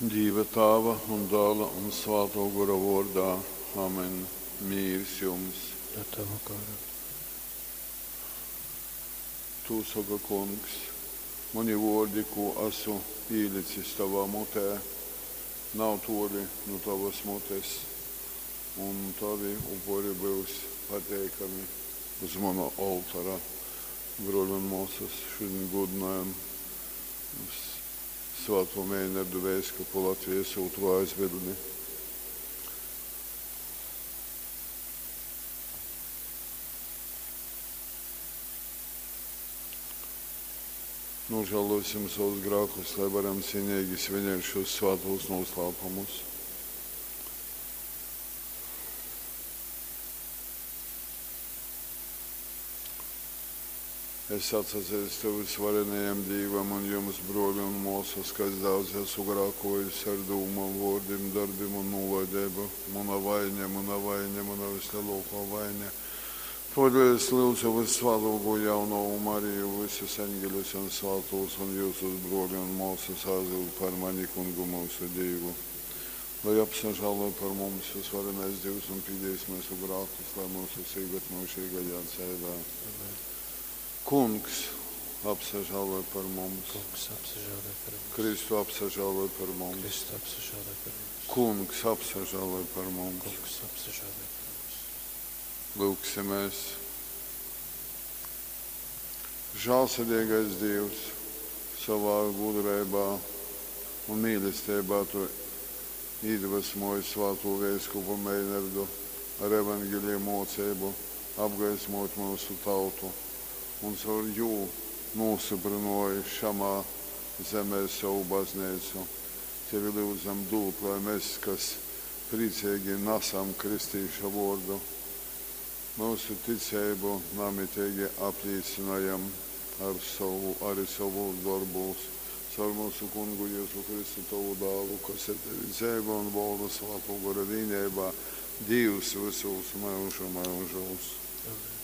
Dīva Tāva un Dāla un Svātō Gora vōrdā. Amen. Mīrs jums. Ar tavu goru. Tū soka Kungs. Muni vōrdi, kū asu īlicis tovā mutē, nav tōli nu tovas mutes, un tovi upuri byus pateikami uz muna oltora. Brōli un mōsas, šudiņ gūdynojam Svātū Meinardu veiskupu Latvijas ūtrū aizbildni. Nožēlosim savus grēkus, lai varam cienīgi svinēt šos svātos noslēpumus. Es atsazeistu vysvarenajam Dīvam un jums, brōli un mōsas, ka es daudz esmu grākojis ar dūmom, vōrdim, darbim un nūlaideibu. Muna vaine, muna vaine, muna vislielākā vaine. Tōdēļ es lyudzu vyssvātōkū jaunovu Mariju, visus eņģeļus un svātūs un jūsus, brōli un mōsas, aizlyudz par mani Kungu myusu Dīvu. Lai apsažāloj par mums vysvarenais Dīvs un pīdīs myusu grākus, lai myusus īved myužīgajā dzeivē. Amen. Kungs, apsažāloj par mums. Kungs, apsažāloj par mums. Kristu apsažāloj par mums. Kristu apsažāloj par mums. Kungs, apsažāloj par mums. Kungs, apsažāloj par mums. Lūgsimies. Žālsirdīgais Dievs, savā gudrībā un mīlestībā tu iedvesmoji svāto veiskupu Meinardu ar evaņģēlija mocību apgaismot mūsu tautu un caur jū nostiprināji šamā zemē savu baznīcu. Tevi lūdzam dūt, lai mēs, kas priecīgi nesam kristīša vārdu, mūsu ticību namitīgi apliecinājam ar savu, arī savu darbūs. Caur mūsu kungu Jēzu Kristu tavu dālu, kas ar tevi dzeivo un valda svāto gora vienībā, Dievs visos mūžu mūžos. Amen.